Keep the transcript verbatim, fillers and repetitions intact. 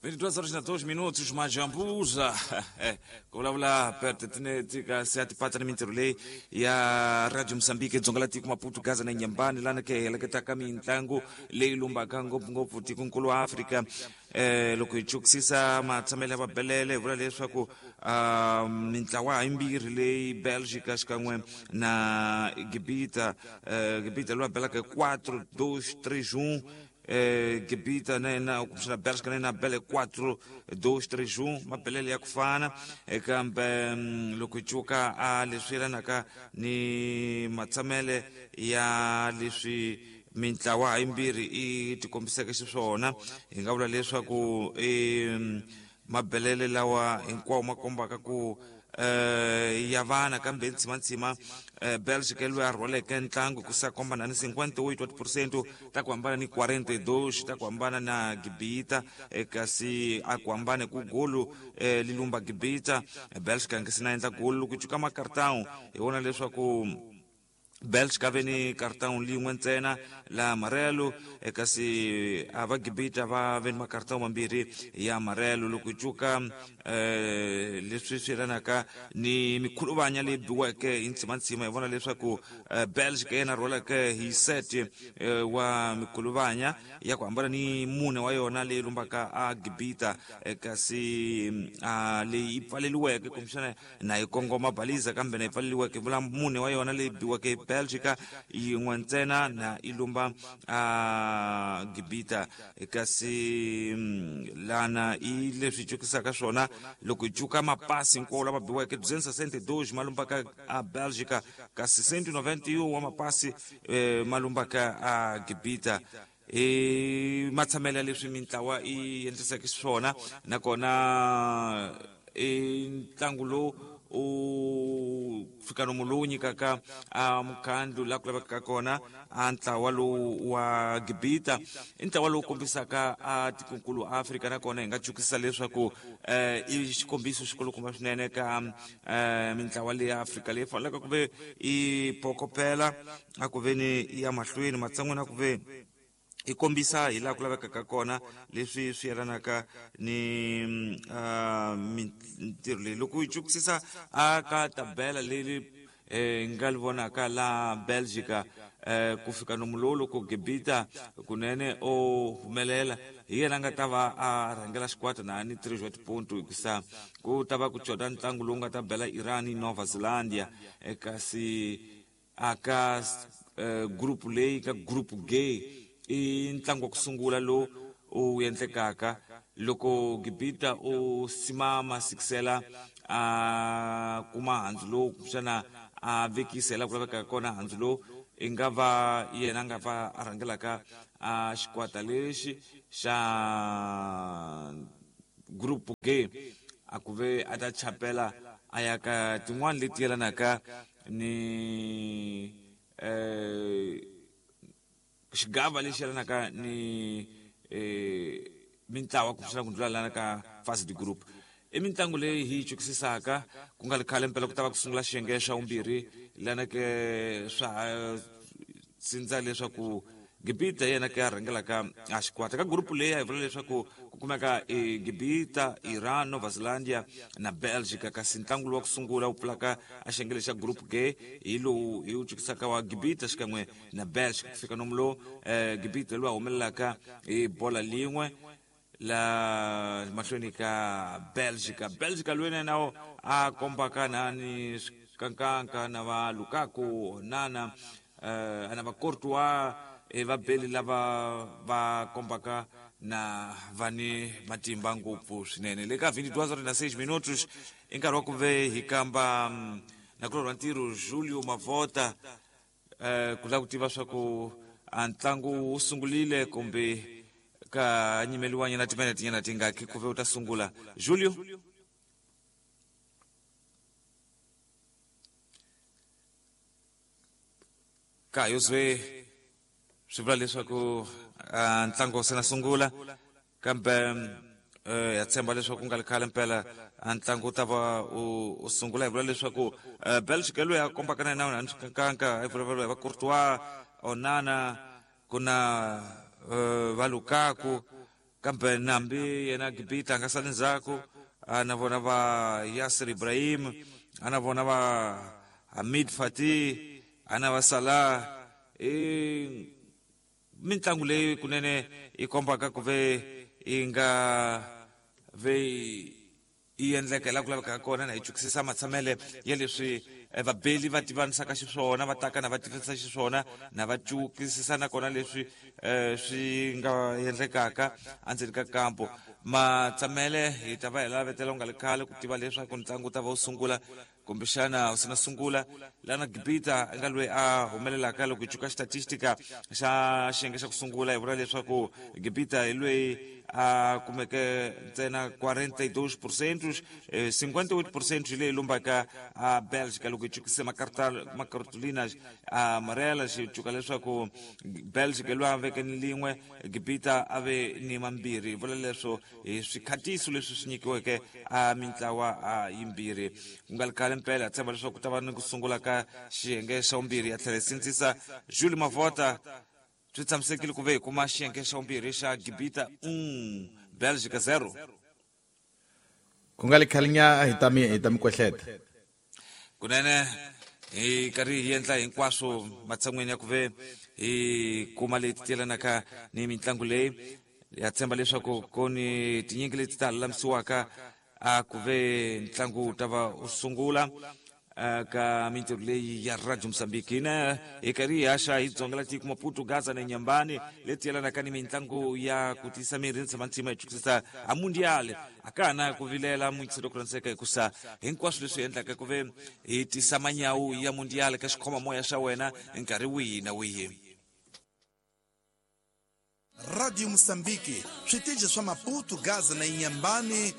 vinte e duas horas na dois minutos majambuza ku vulavula pertinente se ya tipata ni mintirho leyi ya Radio Mozambique dzonga la tiko Maputo Gaza na Nyambani lana ke heleketaka mintlangu leyi lumbaka ngopfungopfu tikonkulu wa Afrika. Eh loko hi chukisisa matshamelo ya vabelele hi vula leswaku uh, mintlawa yimbirhi leyi Belgica xikan'we na Gibita, uh, Gibita loyi a belaka quatro dois três um, eh Gibita na yena kumbexana Belgica na yena bele quatro dois três um, mabelele ya ku fana. Kambe loko hi cuka a leswi yelanaka ni matshamele ya leswi mintlawa yimbirhi i tikombiseke xiswona, hi nga vula leswaku i mabelele lawa hinkwawo ma kombaka ku eh ya vana kambe ntsimantsima Belgica loyi a rhwaleke ntlangu ku sa komba na ni cinquenta e oito por cento ta ku hambana ni quarenta e dois ta ku hambana na Gibita, kasi a ku hambane ku golu li lumba Gibita. Belgica nge se na endla golu loko cuka makartão hi vona leswaku Belgica ve ni cartão lin'we ntsena la amarelo, kasi a va Gibita va ve ni makartão mambirhi ya amarelo. Loko cuka eh leswi swi yelanaka ni mikhuluvanya leyi biweke hi ntsimantsima, hi vona leswaku Belgica yena rhwaleke hi set wa mikhuluvanya ya ku hambana ni mune wa yona leyi lumbaka a Gibita, kasi a leyi yi pfaleliweke kumbexana na yi kongoma baliza kambe na yi pfaleliweke vula mune wa yona leyi biweke Belgica yin'we ntsena na ilumba a Gibita. Kasi lana i leswi cukisaka swona loko hi cuka mapasi hinkwawo lama biweke duzentos e sessenta e dois ma lumbaka a Belgica, kasi cento e noventa e um wa mapasi eh, ma lumbaka a Gibita. I matshamelo ya leswi mintlawa i endliseke swona, nakona i ntlangu lowu u fika nomu lowu nyikaka a mukhandlu laha ku lavekaka kona a ntlawa lowu wa Gibita i ntlawa lowu kombisaka a tikonkulu Afrika, nakona hi nga cukisa leswaku eh i xikombiso xikulukumba swinene ka eh mintlawa leyi ya Afrika leyi faneleke ku ve i pokopela a ku ve ni ya mahlweni matshan'wini a ku ve i kombisa hi laha ku lavekaka kona leswi swi yelanaka ni uh, mintirho leyi. Loko hi cukisisa a ka tabela leyi eh nga li vonaka la Belgica eh ku fika nomu lowu loko Gibita kunene o humelela hi yena nga ta va a rhangela xikwata na ni três wa tiponto, hikusa ku ta va ku coda ntlangu lowu nga ta bela Iran ni Nova Zelandia, kasi aka eh, group leyi ka group G i ntlangu wa ku sungula lowu u endlekaka loko Gibita u simama sikisela a kuma handzu lowu kumbexana a vekisela ku lavekaka kona handzu lowu i nga va yena a nga va a rhangelaka a xikwata lexi xa group G a ku ve a ta chapela a ya ka tin'wani leti yelanaka ni eh xigava lexi yelanaka ni eh mintlawa kumbexana ku ndlula lana ka fase de group. I mintlangu leyi hi yi cukisisaka ku nga ri khale mpela ku ta va ku sungula xiyenge xa vumbirhi lana ke swa sindza leswaku Gibita yena ke a rhangelaka a xikwata ka group leyi a hi vula leswaku ku kumeka i Gibita, Iran, Nova Zelandia na Belgica, kasi ntlangu lowu wa ku sungula wu pfulaka a xiyenge lexa group G hi lowu hi wu cukisaka wa Gibita xikan'we na Belgica. Ku fika nomu lowu eh, Gibita lowu a humelelaka hi bola lin'we la mahlweni ka Belgica. Belgica loyi na yena a kombaka na ni swikankanka na va Lukaku, Onana, eh, na va Courtois, e vabeli lava va kombaka na va ni matimba ngopfu swinene. Le ka vinte e duas horas na seis minutos i nkarhi wa ku ve hi kamba nakulorhi wa ntirho Julio Mavota eh ku lava ku tiva swa ku a ntlangu wu sungulile kumbe ka nyimeliwanyana timinete nyana tingaki ku ve u ta sungula. Julio ka yozwe swi vula leswaku ntlangu se na sungula, kambe eh ya tshemba leswaku ku nga ri khale mpela ntlangu wu ta va u sungula. Hi vula leswaku Belgica loyi a kombaka na yena na swikankanka hi vulavula hi va Courtois, Onana, ku na va Lukaku Kambe nambi yena Gibita a nga sali ndzhaku, a na vona va Yasser Ibrahim, a na vona va Hamid Fatih, a na va Salah. I mitlangu leyi kunene yi kombaka ku ve yi nga ve yi endleka laha ku lavekaka kona, na hi chukisisa matshamele ya leswi vabeli va tivanisaka xiswona, va taka na va tivisa xiswona, na va cukisisa nakona leswi um swi nga endlekaka endzeni ka kampo. Matsamele hi ta va hi lavetela ku nga ri khale ku tiva leswaku ntlangu wu ta va wu sungula kumbexana wu sina sungula. Lana Gibita nga loyi a humelelaka loko hi cuka xitatistika xa xiyenge xa ku sungula, hi vula leswaku Gibita hi loyi a kumeke ntsena quarenta e dois por cento, cinquenta e oito por cento leyi lombaka a Bélgica. Loko hi cukise macartolinas amarelas, hi cuka leswaku Bélgica loyi a veke ni lin'we, Gibita a ve ni mambirhi. Hi vula leswo hi swikhatiso leswi swi nyikiweke a mintlawa a yimbirhi. Ku nga ri khale mpela hi tshemba leswaku ku ta va ni ku sungula ka xiyenge xa vumbirhi. Ya tlhela hi sindzisa Julie Mavota, swi tshamisekile ku ve hi kuma xiyenge xa vumbirhi xa Gibita un, Bélgica zero. Ku nga ri khale nya hi ta mi hi ta mi kwehleta. Kunene hi karhi hi endla hinkwaswo matshan'weni ya ku ve hi kuma leti tiyelanaka ni mitlangu leyi. Ya tshemba leswaku ku ni tinyingi leti ta lulamisiwaka a ku ve ntlangu wu ta va wu sungula ka mintirho leyi ya Radio Mozambique. Hina hi karhi hi haxa hi dzongela tiko Maputo, Gaza na Nyambani leti yelanaka ni mitlangu ya ku tiyisa miri ni tshama ntima hi chukisisa a mundial. A ka ha na ku vilela muyingiseri ku rhandzeka, hikusa hinkwaswo leswi endlaka ku ve hi tisa manyawu ya mundial ka xikhomamoya xa wena nkarhi wihi na wihi. Radio Mozambique, switichi swa Maputo, Gaza na Inhambane.